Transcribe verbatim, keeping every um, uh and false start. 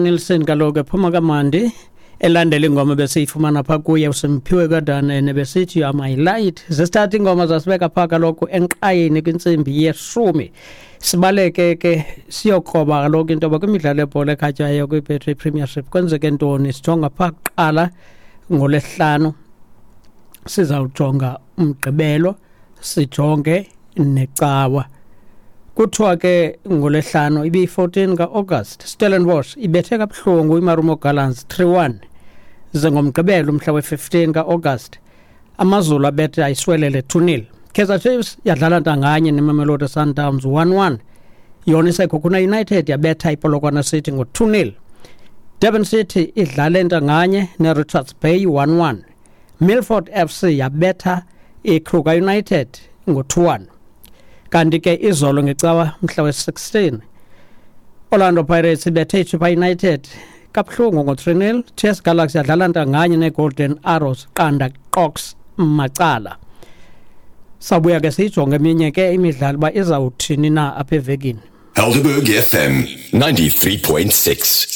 Nilsson kaloku ephuma kamandi elandela ingoma besiyifumana phaa kuye uSimphiwe Kadanene besithi "You Are My Light". Zesithatha ingoma zasibeka phaa kaloku enkqayini kwintsimbi yeshumi. Sibaleke ke siyokroba kaloku into yoba kwimidlalo yebhola ekhatywayo kwiBetway Premiership kwenzeke ntoni. Sijonga phaa kuqala ngoLwesihlanu, sizawujonga uMgqibelo, sijonge neCawa. Kuthiwa ke ngoLwesihlanu ibiyi-fourteen ka-August, Stellenbosch ibethe kabuhlungu iMarumo Gallants three one. Ze ngoMgqibelo umhla we-fifteen ka-August, AmaZulu abethe ayiSiwelele two nil. Kaizer Chiefs yadlala ntanganye neMamelodi Sundowns one one. Yona iSekhukhune United yabetha iPolokwane City ngo-two nil. Durban City idlale ntanganye neRichards Bay one one. Milford F C yabetha iKruger United ngo-two one. Kanti ke izolo ngeCawa mhla we-sixteen, Orlando Pirates ibethe iChippa United kabuhlungu ngo-three nil. T S Galaxy yadlala ntanganye neGolden Arrows qanda qox macala. Sabuya ke siyijonge eminye ke imidlalo uba izawuthini na apha evekini. Helderberg F M ninety-three point six.